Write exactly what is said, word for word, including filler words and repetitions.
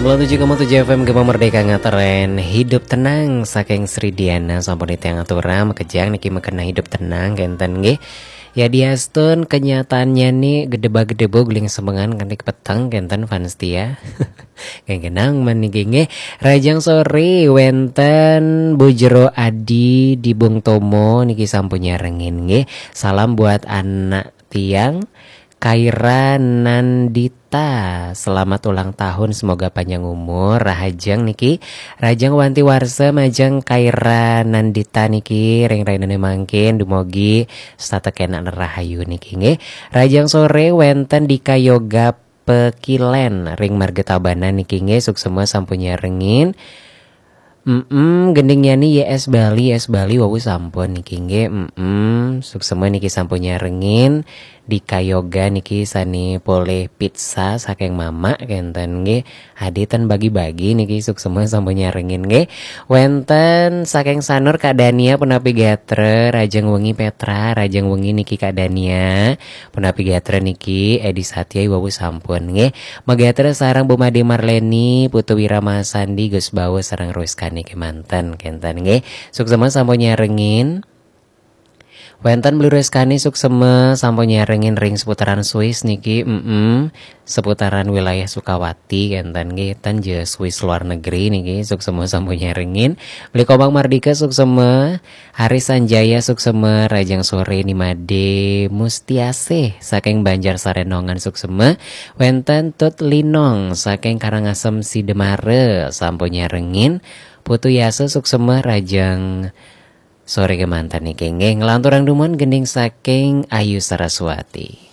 Sembilan tujuh koma tujuh F M Gema Merdeka ngatren Hidup Tenang saking Sri Diana, sampun titiang aturang makejang niki mekena hidup tenang kenten nggih. Ya diastun kenyataannya nih gedeba-gedebo guling semengan kanti peteng kenten fans tia. Gengenang meniki nggih. Rajang sore wenten Bu Jero Adi di Bung Tomo niki sampun nyarengin nggih. Salam buat anak tiang Kaira Nandita, selamat ulang tahun, semoga panjang umur, rahajeng niki, rajeng wanti warsa majeng Kaira Nandita niki ring rainane mangkin, dumogi setata kenak rahayu niki nggih. Rajang sore wenten Dika Yoga Pekilen ring Marga Tabanan niki nggih, suksema sampun nyarengin. Mm, gending yani Y S Bali, Y S Bali wau sampun niki nggih. Mm, suksema niki sampun nyarengin. Dika Yoga niki sane polih pizza saking mamak kenten nggih. Adi ten bagi-bagi niki, suksema sampun nyarengin nggih. Wenten saking Sanur Kak Dania, punapi gatra, rajeng wengi Petra, rajeng wengi niki Kak Dania. Punapi gatra niki Edi Satya wau sampun nggih. Magatra sareng Bu Made Marleni, Putu Wirama Sandi, Gus Bawa sareng Ruskani kemanten kenten nggih. Suksema sampun nyarengin. Wenten Beli Ruskani suksema sampun nyarengin ring seputaran Swiss niki, mm, seputaran wilayah Sukawati kenten nggih, ten je Swiss luar negeri niki, suksema sampun nyarengin. Beli Komang Mardika suksema, Haris Sanjaya suksema, rajang sore Nimade Mustiasih saking Banjar Sarenongan suksema, wenten Tut Linong saking Karangasem Sidemare sampun nyarengin, Putu Yasa suksema, rajang sore kemanten niki nggih, nglanturang dumun gending saking Ayu Saraswati.